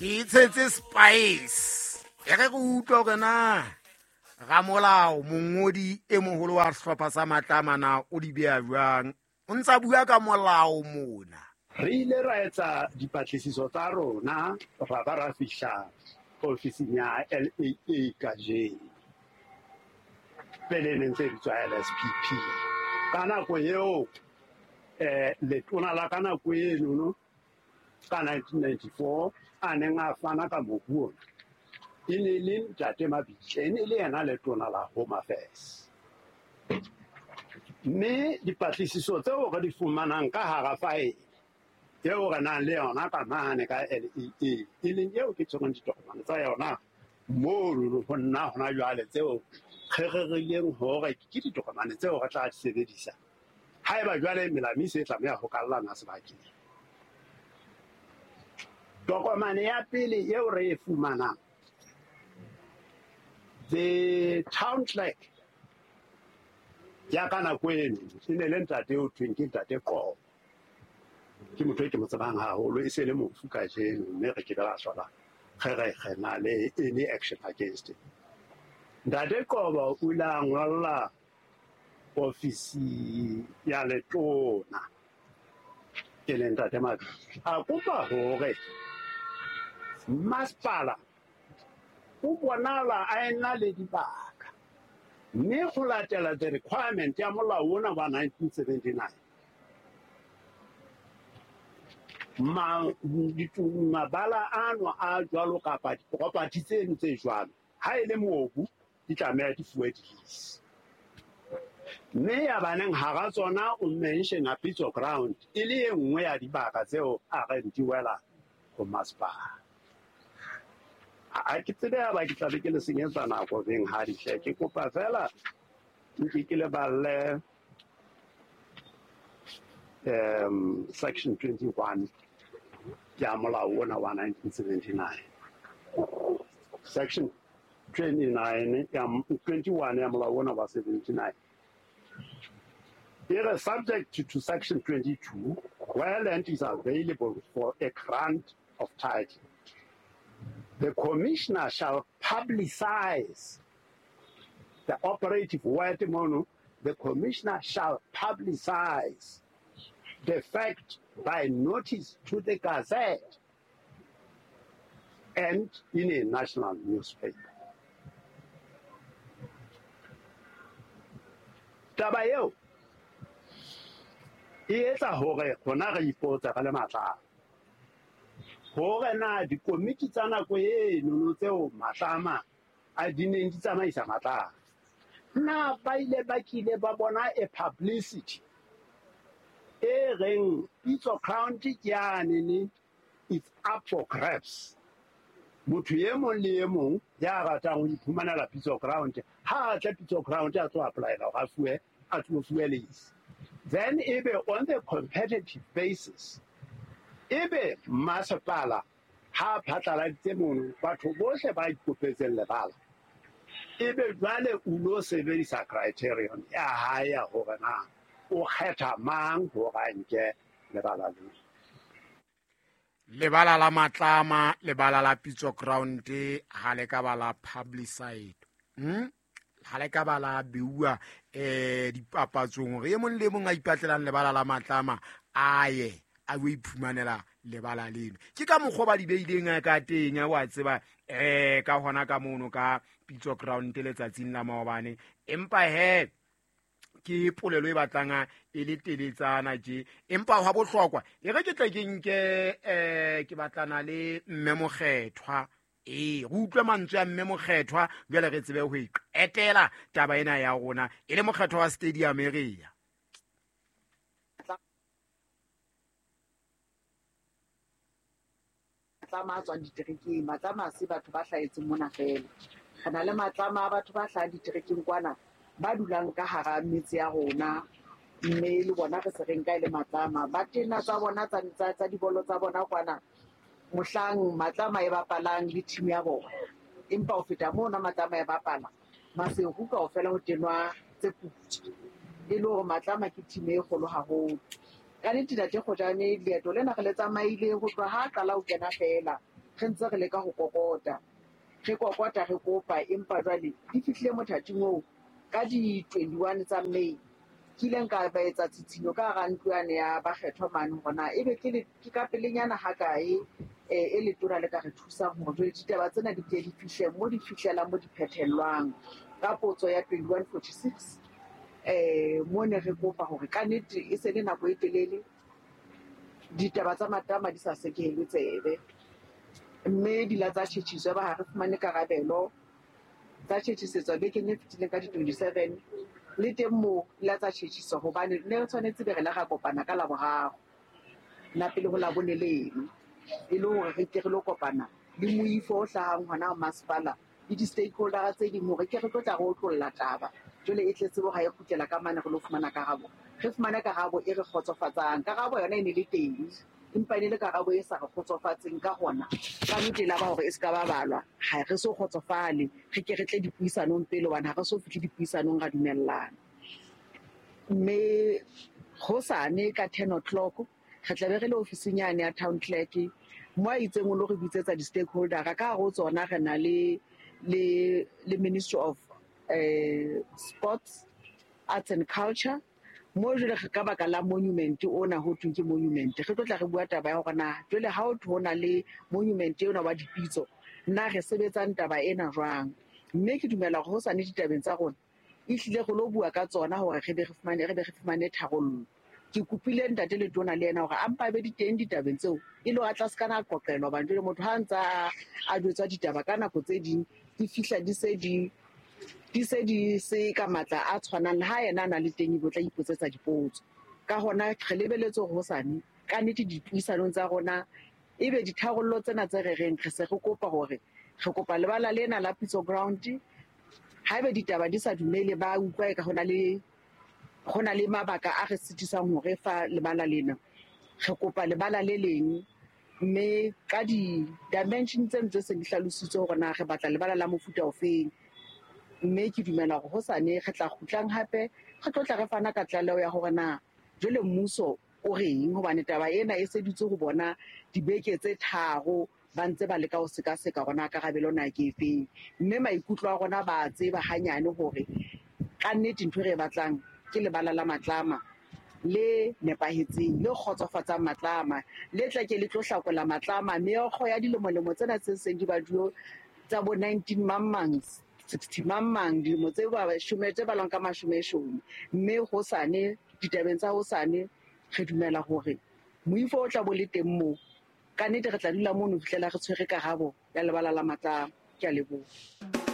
Ke itshetse spice. E re re utlwa hore na ramolao mongodi e moholo wa sehlopha sa Matlama na o di beha jwang. O ntsa bua ka molao mona. Re ile ra etsa dipatlisiso tsa rona ra ba ra fihla ofising ya LAA kajeno. Pele e neng tse bitswa LSPP. Ka nako eo letona la ka nako eno ka 1994 a neng a fana ka mobu ona e ne le Ntate Mabitle, e ne le yena letona la Home Affairs. Mme dipatlisiso tseo re di fumanang ka hara faele eo re nang le yona ka mane ka LEA, e leng eo ke tshwereng ditokomane tsa yona mono ho nna hona jwale, tseo re rerileng hore ke ditokomane tseo re tla di sebedisa haeba jwale melamo e se tlameha ho kallana sebakeng. Tokomane ya pele eo re e fumanang, the town clerk ya ka nako eno e ne le ntate eo thweng ke Ntate Qobo. Ke motho e ke mo tsebang haholo, e se le mofu kajeno, mme re ke be ra hlola re re re na le any action against him. Ntate Qobo o ile a ngolla ofisi ya letona e leng Ntate Mabitle, a kopa hore masepala o bonala a ena le dibaka, mme ho latela the requirement ya molao ona wa 1979, mabala ano a jwalo kapa di-property tseno tse jwalo, ha e le mobu di tlameha di fuwe di-lease. Mme ya baneng hara tsona o mentiona Pitso Ground e le e nngwe ya dibaka tseo a reng di wela ho masepala. Ha ke tsebe ha ba ke tla be ke le senyetsa nako beng ha di hle. Ke kopa fela nke ke le balle section 21 ya molao ona wa 1979. Section 29 ya 21 ya molao ona wa 79. Here, subject to section 22, where land is available for a grant of title, the commissioner shall publicize the operative word mono, the commissioner shall publicize the fact by notice to the Gazette and in a national newspaper. Taba eo e etsa hore rona re ipotse re le Matlama hore na dikomiti tsa nako eno tseo Matlama a di neng di tsamaisa Matlama, na ba ile ba kile ba bona a publicity e reng Pitso Ground ke yanene, it's up for grabs. Motho e mong le e mong ya ratang ho iphumanela Pitso Ground, ha a tle Pitso Ground a tlo applyela hore a fuwe, a tlo fuwe lease. Then ebe on the competitive basis, ebe masepala ha phatlaladitse mono batho bohle ba ikopetseng lebala, ebe jwale o lo sebedisa criterion ya hae ya hore na o kgetha mang hore a nke lebala leo. Lebala la Matlama, lebala la Pitso Ground ha le ka ba la publicite. Ha le ka ba la beuwa dipapatsong hore e mong le mong a ipatlelang lebala la Matlama a ye a yo iphumanela lebala leno. Ke ka mokgwa ba di beileng ka teng, wa tseba, ka hona ka mono ka Pitso Ground letsatsing la maobane. Empa he ke polelo e batlang e le teletsana tje, empa hwa bohlokwa e re ke tle ke nke ke batlana le mme Mokgethwa. Re utlwe mantswe a mme Mokgethwa jwale re tsebe ho e qetela taba ena ya rona e le Mokgethwa wa stadium area. Matlama a tswang diterekeng, Matlama a se batho ba hlahetseng mona fela. Re na le Matlama a batho ba hlahang diterekeng kwana, ba dulang ka hara metse ya rona, mme le bona re se re nka e le Matlama. Ba tena tsa bona tsa dibolo tsa bona kwana, mohlang Matlama e bapalang le team ya bona. Empa ho feta mona Matlama e bapala, Maseru kaofela ho tenwa tse putswa. E le hore Matlama ke team e kgolo haholo. Ka nnete Ntate Kgojane, leeto lena re le tsamaile ho tloha ha qala ho kena fela. Re ntse re leka ho kokota, re kokota, re kopa, empa jwale di fihlile mothating oo ka di-21 tsa May ke ileng ka ba etsa tshitshinyo ka hara ntlo yane ya bakgethwa mane hore na ebe ke ka pelenyana hakae e letona le ka re thusang hore jwale ditaba tsena di ke di fihle mo di fihlelang, mo di phethellwang. Ka potso ya 2146 mo ne re kopa hore kannete e se le nako e telele ditaba tsa Matlama di sa sekehelwe tsebe, mme di la tsa tjhetjhiswa ba ha re fumane karabelo. Tsa tjhetjhisetswa bekeng e fetileng ka di-27, le teng moo di la tsa tjhetjhiswa hobane ne re tshwanetse be re la ra kopana ka Laboraro la pele ho Labone leno, e le hore re ke re lo kopana le moifo o hlahang hona masepala le di-stakeholder tse ding hore ke re tlo tla re otlolla taba. Jwale e tletse bo ha e kgutlela ka mane re lo fumana karabo, re fumane karabo e re kgotsofatsang. Karabo yona e ne le teng, empa e ne le karabo e sa re kgotsofatseng. Ka hona ka nnete la ba hore e se ka ba balwa, ha re so kgotsofale, re ke re tle dipuisanong pele hobane ha re so fihle dipuisanong ra dumellana. Mme hosane ka 10 o'clock re tla be re le ofising yane ya town clerk mo a itseng o lo re bitsetsa di-stakeholder. Ka hare ho tsona re na le Ministry of Sports, Arts and Culture, mo jwale ka baka la monument ona ho thweng ke monument. Re tlo tla re bua taba ya hore na jwale ha ho thwe ho na le monument ena wa dipitso, nna re sebetsang taba ena jwang. Mme ke dumela hore hosane ditabeng tsa rona ehlile re lo bua ka tsona hore re be re fumane tharollo. Ke kopile ntate Letona le yena hore a mpa be di teng ditabeng tseo, e le hore a tla se kana a qoqelwa, hobane jwale motho ha ntsa a jwetswa ditaba ka nako tse ding di fihla di se di se ka matla a tshwanang le ha yena a na le teng, ebe o tla ipotsetsa dipotso. Ka hona re lebeletse hore hosane ka nnete dipuisanong tsa rona ebe ditharollo tsena tse re reng re se re kopa hore re kopa lebala lena la Pitso Ground. Haebe ditaba di sa dumele, ba utlwa eka ho na le mabaka a re sitisang hore fa lebala lena, re kopa lebala le leng, mme ka di-dimension tseno tse seng di hlalositswe hore na re batla lebala la mofuta ofeng. Mme ke dumela hore hosane re tla kgutlang hape re tlo tla re fana ka tlaleho ya hore na jwale mmuso o reng, hobane taba ena e se dutse ho bona dibeke tse 3 ba ntse ba leka ho sekaseka hore na karabelo na ke efeng. Mme maikutlo a rona ba a tseba hanyane hore kannete ntho e re e batlang ke lebala la Matlama le nepahetseng, le kgotsofatsang Matlama, le tla ke le tlo hlakola Matlama meokgo ya dilemolemo tsena tse seng di baduo tsa bo 19 mang mang 60 mang mang, dilemo tse ba shome tse balwang ka mashomeshome. Mme hosane ditabeng tsa hosane re dumela hore moifo o tla bo le teng moo, kannete re tla dula mono ho fihlela re tshwere karabo ya lebala la Matlama. Ke a leboha.